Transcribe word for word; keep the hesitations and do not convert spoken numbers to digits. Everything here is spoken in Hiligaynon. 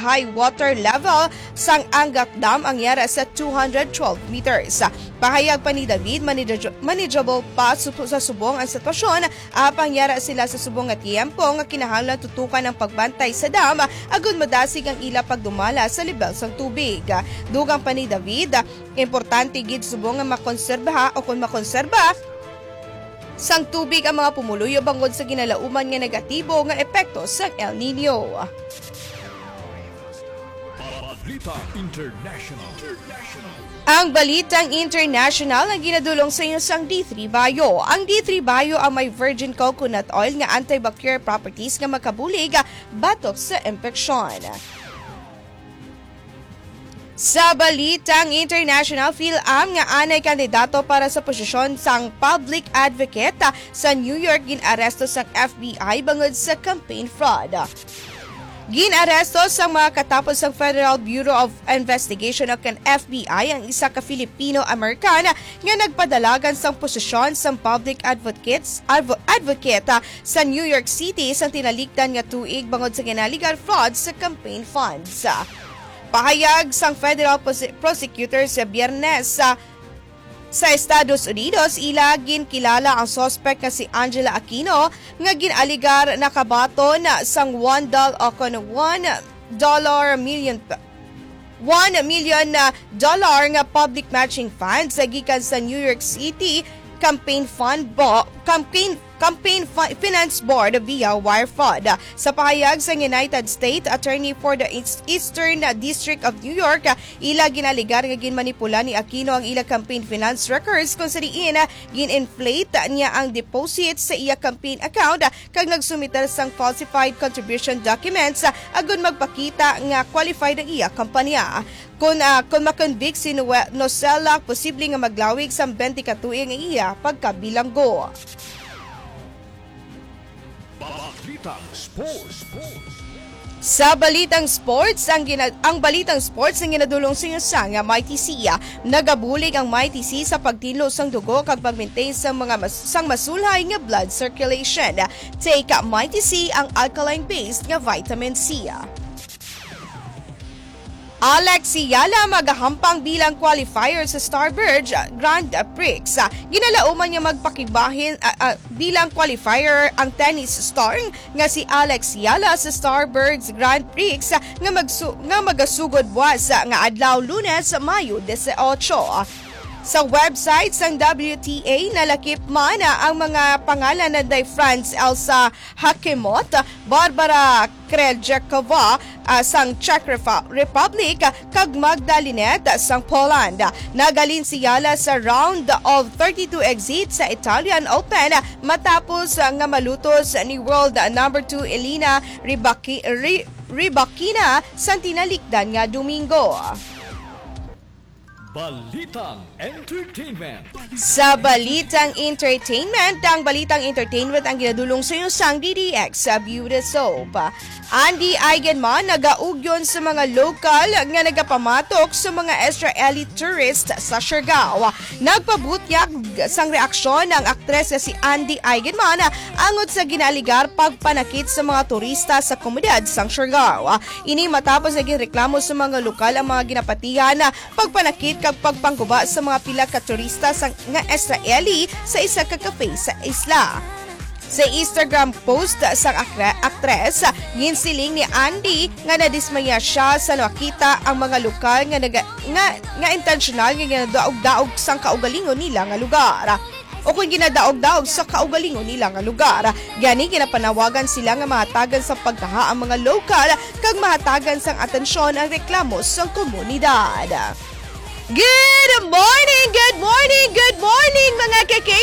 high water level sang Angat Dam ang yara sa two hundred twelve meters. Pahayag pa ni David, manage-, manageable pa supo sa subong ang sitwasyon, apang yara sila sa subong nga tiyempo nga kinahanglan tutukan ang pagbantay sa dam agud madasig ang ila pagdumala sa lebel sang tubig. Dugang pa ni David, importante gid subong nga makonserbaha o kon makonserba sang tubig ang mga pumuluyo bangod sa ginalauman nga negatibo nga epekto sang El Nino. Balita International. Ang balitang international ang ginadulong sa inyo sang D three Bio. Ang D three Bio ang may virgin coconut oil nga antibacterial properties nga makabulig batok sa impeksyon. Sa balitang international, fil-am nga anay kandidato para sa posisyon sang public advocate sa New York gin-aresto sang F B I bangod sa campaign fraud. Gin-aresto sang mga katapos sang Federal Bureau of Investigation o kan F B I ang isa ka Filipino-American nga nagpadalagan sang posisyon sang public advocates, advo-, advocate, ah, sa New York City sang tinalikdan nga tuig bangod sa ginaligar fraud sa campaign funds. Pahayag sang federal prose-, prosecutor sa Biyernes, ah, sa Estados Unidos, ila ginkilala ang suspect nga si Angela Aquino nga gin-aligar nakabaton sang one dollar o kon one dollar million, one million, ah, dollar nga public matching funds gikan sa New York City campaign fund bo-, campaign, campaign fi-, finance board via wire fraud. Sa pahayag sa United States Attorney for the East-, Eastern District of New York, ila ginaligar nga ginmanipula ni Aquino ang ila campaign finance records, kung sa diin gin-inflate niya ang deposit sa iya campaign account kag nagsumiter sang falsified contribution documents, ah, agud magpakita nga qualified ang iya kampanya. Kon, ah, kon makonvict si Noe-, Nocella, posible nga maglawig sang twenty ka tuig ang iya pagkabilanggo. Balitang Sports. Sa balitang sports, ang gina-, ang balitang sports ang ginadulong sa inyo sang Mighty C. Nagabulig ang Mighty C sa pagtinlo sang dugo kag pag-maintain sang mga mas-, sang masulhay nga blood circulation. Take Mighty C, ang alkaline-based nga vitamin C. Alex Eala magahampang bilang qualifier sa Starbird Grand Prix. Ginalauman nga magpakibahin, ah, ah, bilang qualifier ang tennis star nga si Alex Eala sa Starbirds Grand Prix nga magsu-, nga magasugod buwas nga adlaw, Lunes, Mayo dieciocho. Sa website sang W T A, nalakip man ang mga pangalan nanday Franz Elsa Hakimot, Barbara Krejcikova, ah, sang Czech Refa-, Republic, kag Magda Linette sang Poland. Naghalin si Eala sa round of thirty-two exit sa Italian Open matapos, ah, nga malutos ni world number two Elena Rybaki-, Ry-, Rybakina sa tinalikdan nga Domingo. Balitang Entertainment. Sa balitang entertainment, ang balitang entertainment ang ginadulong sa inyo sang D D X sa Beauty Soap. Andy Eigenman nagaugyon sa mga lokal nga nagapamatok sa mga Israeli tourist sa Siargao. Nagpabutyag sang reaksyon ang aktres nga si Andy Eigenman angod sa ginaaligar pagpanakit sa mga turista sa komunidad sang Siargao. Ini matapos nga ginreklamo sa mga lokal ang mga ginapatihan pagpanakit kag pagpangguba sa mga pila ka turista sa, nga Israeli sa isa ka cafe sa isla. Sa Instagram post sang akre-, aktres, ginsiling ni Andy nga nadismaya siya sa nakita ang mga lokal nga naga-, nga, nga intensyonal nga ginadaog-daog sang kaugalingon nila nga lugar. O kung ginadaog-daog sa kaugalingon nila nga lugar. Gani, ginapanawagan sila nga mahatagan sa pagkaha ang mga lokal kag mahatagan sang atensyon ang reklamo sang komunidad. Good morning, good morning, good morning, mga ka-K